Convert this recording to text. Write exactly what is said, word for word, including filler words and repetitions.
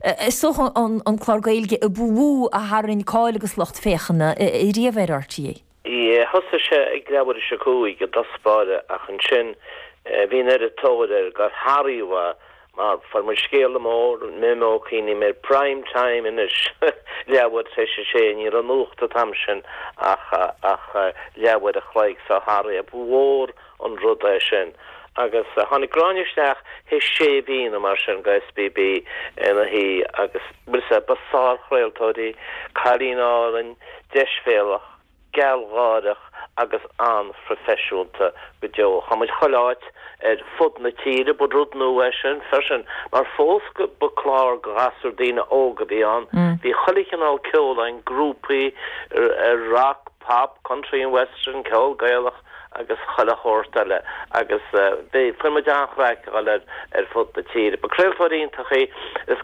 Is dócha an clár Gaeilge a ba mhó a tharraing cáil agus lucht féachana riamh ar R T É. Thosaigh sé ag leathuair tar éis a cúig i dtús báire, ach ansin bhí an oiread tóir air gur sháraigh, mar fuair muid scéala mór mé cuimhním ar prime time anois, leathuair tar éis a sé. Ní raibh nuacht an t-am sin ach ach leathuair a chloig, so sháraigh mhór an rud é sin. Agus tháinig Gráinne isteach théis sé mhí mar sin go S B B ina hí agus ba sárchraoltóir í, cailín álainn, deisbhéalach, gealgháireach agus an-phroifisiúnta go deo. Chuaigh muid chuile áit ar fud na tíre. Ba rud nua é sin freisin, mar fós ba chlár do ghasúir, daoine óga a bhí ann. Mm. Bhí chuile chineál ceoil ann, grúpaí ar rock, pop, country and western, ceol Gaelach agus chuile shórt eile, agus uh, fuair muid an-chraic ar ar fud na tíre. Ba craoltóir iontach í is